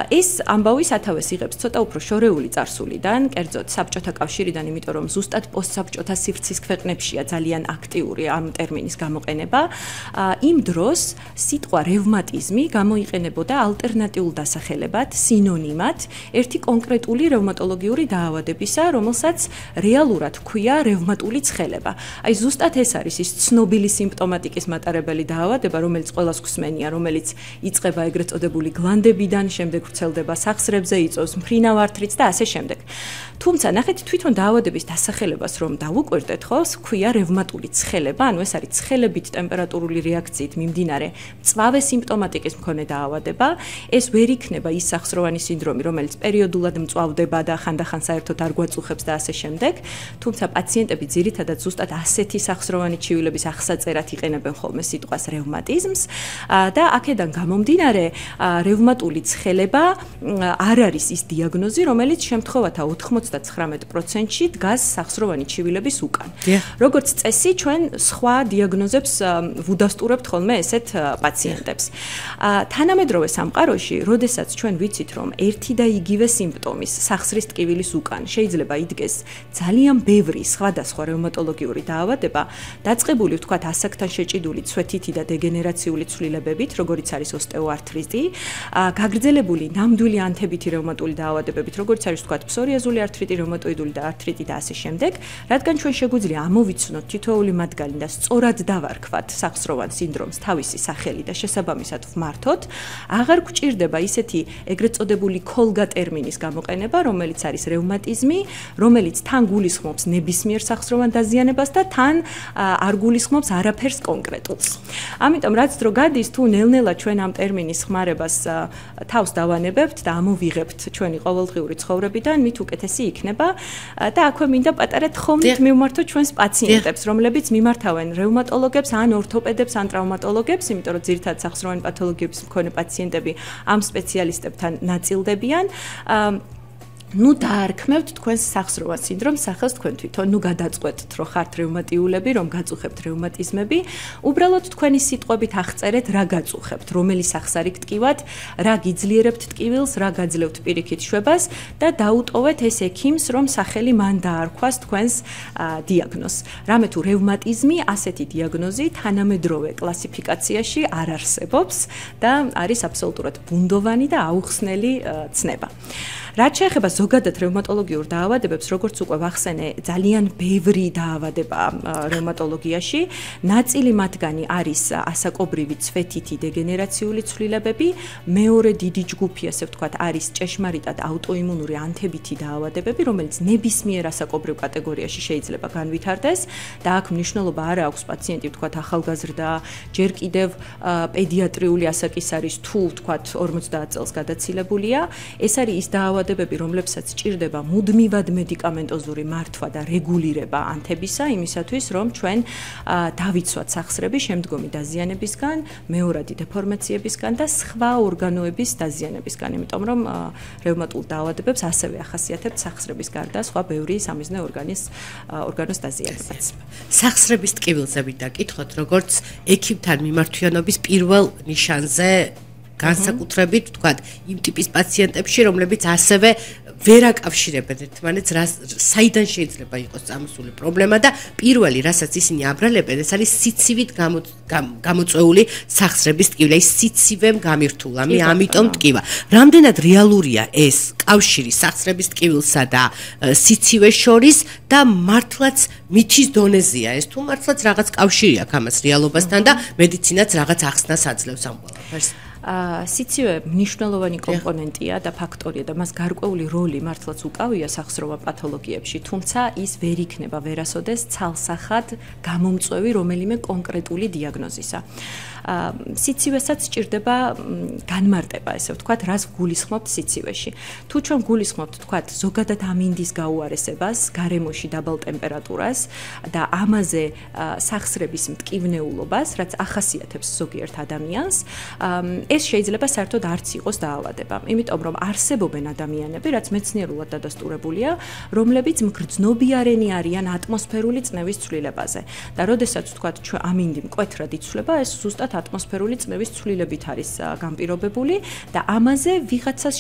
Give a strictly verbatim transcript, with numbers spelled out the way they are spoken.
ეს ამბავი სათავეს იღებს ცოტა უფრო შორეული წარსულიდან, კერძოდ საბჭოთა კავშირიდან, იმიტომ რომ ზუსტად პოსტსაბჭოთა სივრცის ქვეყნებშია ძალიან აქტიური ამ ტერმინის გამოყენება. იმ დროს სიტყვა რევმატიზმი გამოიყენებოდა ალტერნატიულ დასახელებად, სინონიმად, ერთი კონკრეტული რევმატოლოგიური დაავადებისა, რომელსაც რეალურად ჰქვია რევმატული ცხელება. აი ზუსტად ეს არის ის ცნობილი სიმპტომატიკის მატარებელი დაავადება, რომელიც ყველას გვსმენია, რომელიც იწყება ეგრეთ წოდებული გლანდებიდან, შემდეგ ვრცელდება სახსრებზე, იწვევს მფრინავ ართრიტს და ასე შემდეგ. თუმცა ნახეთ თვითონ დაავადების დასახელებას რომ დავუკვირდეთ, ხო, ჰქვია რევმატული ცხელება, ანუ ეს არის ცხელებით ტემპერატურული რეაქციით მიმდინარე მწვავე სიმპტომატიკის მქონე დაავადება. ეს ვერ იქნება ის სახსროვანი სინდრომი, რომელიც პერიოდულად მწვავდება და ხანდახან საერთოდ არ გვაწუხებს და ასე შემდეგ. თუმცა პაციენტები ძირითადად ზუსტად ასეთი სახსროვანი ჩივილების აღსაწერად იყენებენ ხოლმე სიტყვას რევმატიზმს და აქედან გამომდინარე რევმატული ცხელება არ არის ის დიაგნოზი, რომელიც შემთხვევათა ოთხმოცდათხრამეტ პროცენტში დგას სახსროვანი ჩივილების უკან. როგორც წესი, ჩვენ სხვა დიაგნოზებს ვუდასტურებთ ხოლმე ესეთ პაციენტებს. თანამედროვე სამყაროში, როდესაც ჩვენ ვიცით, რომ ერთი და იგივე სიმპტომის სახსრის ტკივილის უკან შეიძლება იდგეს ძალიან ბევრი სხვადასხვა რევმატოლოგიური დაავადება, დაწყებული ვთქვათ ასაკთან შეჭიდული ცვეთითი და დეგენერაციული ცვლილებებით, როგორიც არის ოსტეოარტრიტი, გაგრძელებული ნამდვილი ანთებითი რევმატული დაავადებებით, როგორც არის ვთქვათ ფსორიაზული ართრიტი, რევმატოიდული და ართრიტი და ასე შემდეგ, რადგან ჩვენ შეგვიძლია ამოვიცნოთ თითოეული მათგანი და სწორად დავარქვათ სახსროვან სინდრომს თავისი სახელი და შესაბამისად ვმართოთ, აღარ გვჭირდება ისეთი ეგრეთ წოდებული ქოლგა ტერმინის გამოყენება, რომელიც არის რევმატიზმი, რომელიც თან გულისხმობს ნებისმიერ სახსროვან დაზიანებას და თან არ გულისხმობს არაფერს კონკრეტულს. ამიტომ რაც დრო გადის, თუ ნელ-ნელა ჩვენ ამ ტერმინის ხმარებას თავს დავანებებთ და ამოვიღებთ ჩვენი ყოველდღიური ცხოვრებიდან, მით უკეთესი იქნება და აქვე მინდა პატარა თხოვნით მივმართოთ ჩვენს პაციენტებს, რომლებიც მიმართავენ რევმატოლოგებს, ან ორთოპედებს, ან ტრავმატოლოგებს, იმიტომ რომ ძირითადად სახსროვანი პათოლოგიების მქონე პაციენტები ამ სპეციალისტებთან ნაწილდებიან. ნუ დაარქმევთ თქვენს სახსროვან სინდრომს, სახელს თქვენ თვითონ, ნუ გადაწყვეტთ, რომ ხართ რევმატიულები, რომ გაწუხებთ რევმატიზმები, უბრალოდ თქვენი სიტყვებით აღწერეთ, რა გაწუხებთ, რომელი სახსარი გტკივათ, რა გიძლიერებთ ტკივილს, რა გაძლევთ პირიქით შვებას და დაუტოვეთ ეს ექიმს, რომ სახელი მან დაარქვას თქვენს დიაგნოზს. რამე თუ რევმატიზმი, ასეთი დიაგნოზი თანამედროვე კლასიფიკაციაში არ არსებობს და არის აბსოლუტურად ბუნდოვანი და აუხსნელი ცნება. რაც შეეხება ზოგადად რევმატოლოგიურ დაავადებებს, როგორც უკვე ვახსენე, ძალიან ბევრი დაავადება რევმატოლოგიაში. ნაწილი მათგანი არის ასაკობრივი ცვეთითი დეგენერაციული ცვლილებები, მეორე დიდი ჯგუფი, ასე ვთქვათ, არის ჭეშმარიტად აუტოიმუნური ანთებითი დაავადებები, რომელიც ნებისმიერ ასაკობრივ კატეგორიაში შეიძლება განვითარდეს და აქ მნიშვნელობა არ აქვს პაციენტი, ვთქვათ, ახალგაზრდა, ჯერ კიდევ პედიატრიული ასაკის არის თუ, ვთქვათ, ორმოცდაათ წელს გადაცილებულია. ეს არის ის დაავადებები, რომლებსაც ჭირდება მუდმივად მედიკამენტოზური მართვა და რეგულირება ანთებისა, იმისათვის, რომ ჩვენ დავიცვათ სახსრები შემდგომი დაზიანებისგან, მეორადი დეფორმაციებისგან და სხვა ორგანოების დაზიანებისგან, იმიტომ რომ რევმატულ დაავადებებს ასევე ახასიათებთ სახსრების გარდა სხვა ბევრი სამიზნე ორგანის ორგანოს დაზიანებაც. სახსრების ტკივილზე მინდა გითხოთ, როგორც ექიმთან მიმართვიანობის პირველ ნიშანზე განსაკუთრებით, ვთქვათ, იმ ტიპის პაციენტებში, რომლებიც ასევე ვერ აკავშირებენ ერთმანეთს, საიდან შეიძლება იყოს წამოსული პრობლემა და პირველი, რასაც ისინი აბრალებენ, ეს არის სიცივით გამოწვეული სახსრების ტკივილი, ის სიცივემ გამირთულა, მე ამიტომ ტკივა. რამდენად რეალურია ეს კავშირი სახსრების ტკივილსა და სიცივეს შორის და მართლაც მითის დონეზეა ეს, თუ მართლაც რაღაც კავშირი აქვს ამას რეალობასთან და მედიცინაც რაღაც ახსნას აძლევს ამ ყველაფერს. სიცივე მნიშვნელოვანი კომპონენტია და ფაქტორია და მას გარკვეული როლი მართლაც უკავია სახსროვან პათოლოგიებში, თუმცა ის ვერ იქნება ვერასოდეს ცალსახად გამომწვევი რომელიმე კონკრეტული დიაგნოზისა. სიცივესაც სჭირდება განმარტება, ესე ვთქვათ, რას გულისხმობთ სიცივეში. თუ ჩვენ გულისხმობთ, ვთქვათ, ზოგადად ამინდის გაუარესებას, გარემოში დაბალ ტემპერატურას და ამაზე სახსრების მტკივნეულობას, რაც ახასიათებს ზოგიერთ ადამიანს, ეს შეიძლება საერთოდ არც იყოს დაავადება. იმიტომ რომ არსებობენ ადამიანები, რაც მეცნიერულად დადასტურებულია, რომლებიც მგრძნობიარენი არიან ატმოსფერული წნევის ცვლილებაზე. და როდესაც ვთქვათ, ჩვენ ამინდი მკვეთრად იცვლება, ეს ზუსტად ატმოსფერული წნევის ცვლილებით არის განპირობებული და ამაზე ვიღაცას